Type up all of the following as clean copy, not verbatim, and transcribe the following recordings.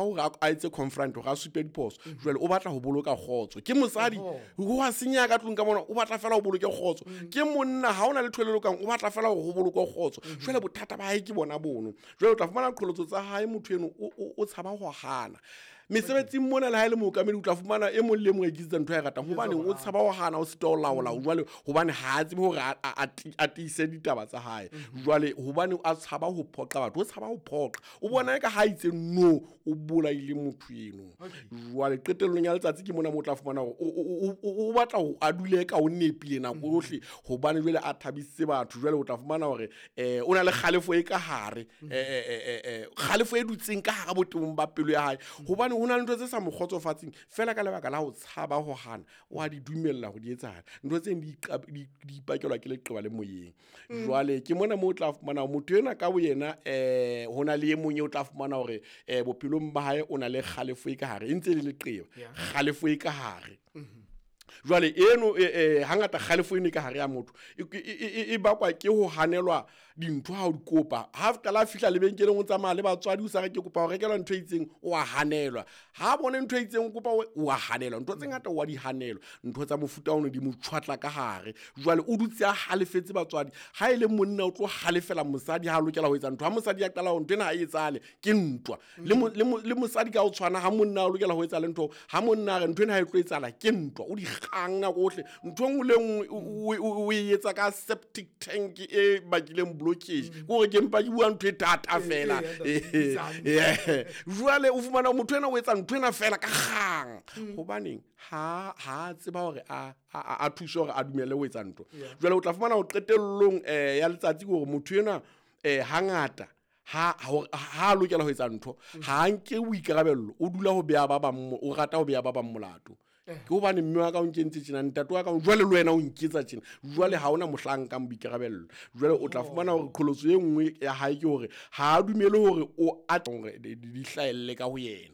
Hore a etse confront, hore a supe diphoso. Jwale o batla ho boloka kgotso. Ke mosadi, ho a senyeha ka tlung ka mona, o batla fela ho boloke kgotso. Ke monna, ha ona le lokang, o batla fela hore ho bolokwe kgotso. Jwale bothata ba hae ke bona bono. Jwale o tla fumana qholotso tsa hae, motho eno o tshaba ho hana. Mesebetsing mona, le ha e le mookamedi, o tla fumana e mong le e mong a iketsetsa ntho a e ratang, hobane o tshaba ho hana, o sitwa ho laola. Jwale hobane ha a tsebe hore a tiise ditaba tsa hae. Jwale hobane a tshaba ho phoqa batho, o tshaba ho phoqa, o bona eka ha itse no, o bolaile motho eno. Jwale qetellong ya letsatsi ke mona mo o tla fumana hore o batla ho a dule ka o nepile nako yohle, hobane jwale a thabisitse batho. Jwale o tla fumana hore o na le kgalefo e ka hare, kgalefo e dutseng ka hara botebong ba pelo ya hae, hobane ho na le ntho tse sa mo kgotsofatseng. Fela ka lebaka la ho tshaba ho hana, o a di dumella ho di etsahala. Ntho tseng di ipakelwa ke leqeba le moyeng. Jwale ke mona moo o tla fumana motho ena ka boyena, ho na le e mong eo o tla fumana hore bophelong ba hae o na le kgalefo e ka hare, e ntse e le leqeba, kgalefo e ka hare. Jwale eno, hangata kgalefo eno e ka hare ya motho e bakwa ke ho hanelwa dintho ha o di kopa. Ha qala a fihla lebenkeleng, o tsamaya le batswadi, o sa re ke kopa ho rekelwa ntho e itseng, o a hanelwa. Ha bone ntho e itseng, o kopa, o a hanelwa. Ntho tse ngata o a di hanelwa. Ntho tsa mofuta ono di mo tjhwatla ka hare. Jwale o dutse a halefetse batswadi. Ha e le monna, o tlo halefela mosadi ha a lokela ho etsa ntho. Ha mosadi a qala ho ntho ena ha e etsahale, ke ntwa. Le mosadi ka ho tshwana, ha monna a lokela ho etsa le ntho, ha monna a re ntho ena ha e tlo etsahala, ke ntwa. O di kgang nako ohle. Ntho e nngwe le nngwe o e etsa ka septic tank e bakileng blockage. Ke hore ke mpa ke bua ntho e thata fela. Jwale o fumana motho ena o etsa ntho ena fela ka kgang. Hobaneng ha a tseba hore a thuse hore a dumele ho etsa ntho. Jwale o tla fumana ho qetellong ya letsatsi hore motho ena hangata ha a lokela ho etsa ntho, ha nke boikarabello, o dula ho beha ba bang, o rata ho beha ba bang molato. Ke hobane mme wa ka o nkentse tjena, ntate wa ka jwale le wena o nketsa tjena. Jwale ha ona mohla nkang boikarabello. Jwale o tla fumana hore qholotso e nngwe ya hae ke hore ha a dumele hore o a hore di hlahelle ka ho yena.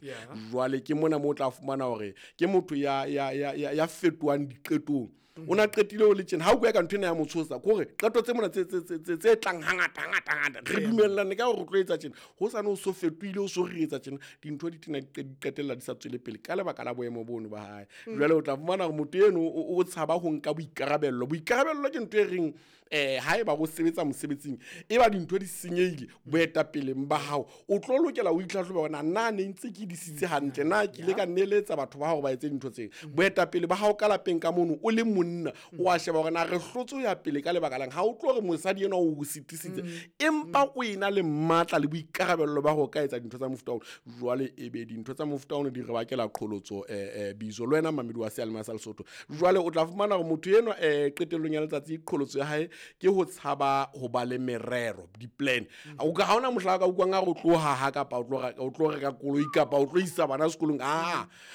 Jwale ke mona moo o tla fumana hore ke motho ya fetohang diqetong. O na qetile o le tjena, ha o bua ka ntho ena ya motshosa, ke hore qeto tse mona tse tlang hangata hangata hangata, re dumellane ka hore re tlo etsa tjena, ho sane o so fetohile, o so re etsa tjena, dintho di tena di qetella di sa tswele pele ka lebaka la boemo bono ba hae. Jwale o tla fumana hore motho eno o tshaba ho nka boikarabello. Boikarabello ke ntho e reng haeba o sebetsa mosebetsing, e ba dintho di senyehile boetapeleng ba hao, o tlo lokela o itlhatlhobe hore na ne ntse ke disitse hantle, na ke ile ka neletsa batho ba hore ba etse dintho tseo. Boetapele ba hao ka lapeng ka mono, o le monna, o a sheba hore na re hlotse ho ya pele ka lebaka lang. Ha o tlo re mosadi enwa o sitisitse, empa o ena le matla le boikarabello ba ho ka etsa dintho tsa mofuta ono. Jwale ebe dintho tsa mofuta ono di re bakela qholotso, bizo le wena mamedi wa seyalemoya sa Lesotho. Jwale o tla fumana hore motho enwa, qetellong ya letsatsi, qholotso ya hae ke ho tshaba ho ba le merero, di-plan. O ka ha ona mohla ka utlwang a re o tlo haha, kapa o tlo reka koloi, kapa o tlo isa bana sekolong.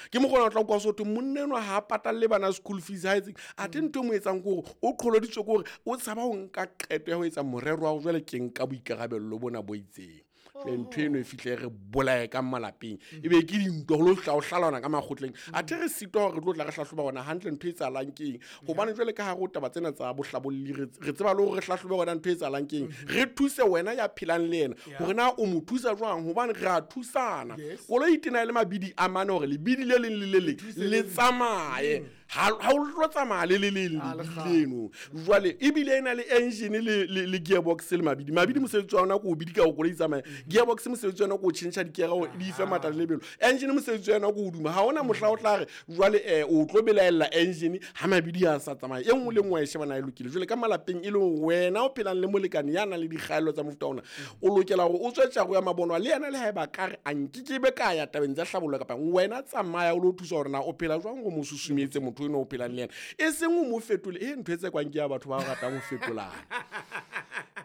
Ke mokgona o tla utlwa so thwe monna enwa ha a patalle bana school fees, ha etseng. Athe ntho e mo etsang ke hore o qholoditswe ke hore o tshaba ho nka qeto ya ho etsa morero wa hore jwale ke nka boikarabello bona bo itseng. Jwale ntho eno e fihle re bolaye ka malapeng, ebe ke dintwa ho lo hla ho hlalana ka makgotleng. Athe re sitwa hore re tlo tla re hlahloba hona hantle ntho e etsahalang ke eng, hobane jwale ka hare ho taba tsena tsa bohlabolli re tseba le hore re hlahlobe hona ntho e etsahalang ke eng, re thuse wena ya phelang le yena hore na o mo thusa jwang, hobane re a thusana. Koloi e tena e le mabidi a mane, hore lebidi le leng le le leng le tsamaye. Ha o tlo tsamaya le le leng lebidi leno. Jwale ebile e na le engine le gearbox le mabidi. Mabidi mosebetsi wa yona ke o bidika hore koloi e tsamaye. Gearbox mosebetsi wa yona ke o tjhentjha dikere hore di fe matla le lebelo. Engine mosebetsi wa yona ke o duma. Ha hona mohla o tla re jwale o tlo belaella engine ha mabidi a sa tsamaye. E nngwe le nngwe e shebana e lokile. Jwale ka malapeng e leng wena o phelang le molekane ya nang le dikgaello tsa mofuta ona, o lokela hore o tswe tjaro ya mabonwa le yena, le haeba ka re a nkekebe ka ya tabeng tsa hlabollo kapa wena tsamaya o lo thusa hore na o phela jwang, o mo susumetse motho eno o phelang le yena, e seng o mo fetole. E ntho e tsekwang ke ya batho ba ratang ho fetolana.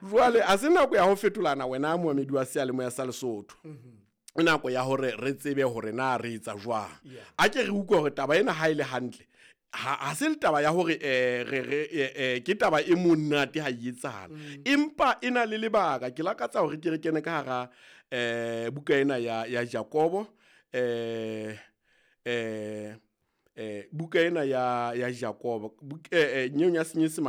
Jwale a se nako ya ho fetolana, wena moamedi wa seyalemoya sa Lesotho. Nako ya hore re tsebe hore na re etsa jwang. A ke re utlwe hore taba ena ha e le hantle, ha se le taba ya hore re ke taba e monate ha e etsahala, empa e na le lebaka. Ke lakatsa hore ke re kene ka hara buka ena ya Jakobo, buka ena ya Jakobo, nyeong ya Senyesemane.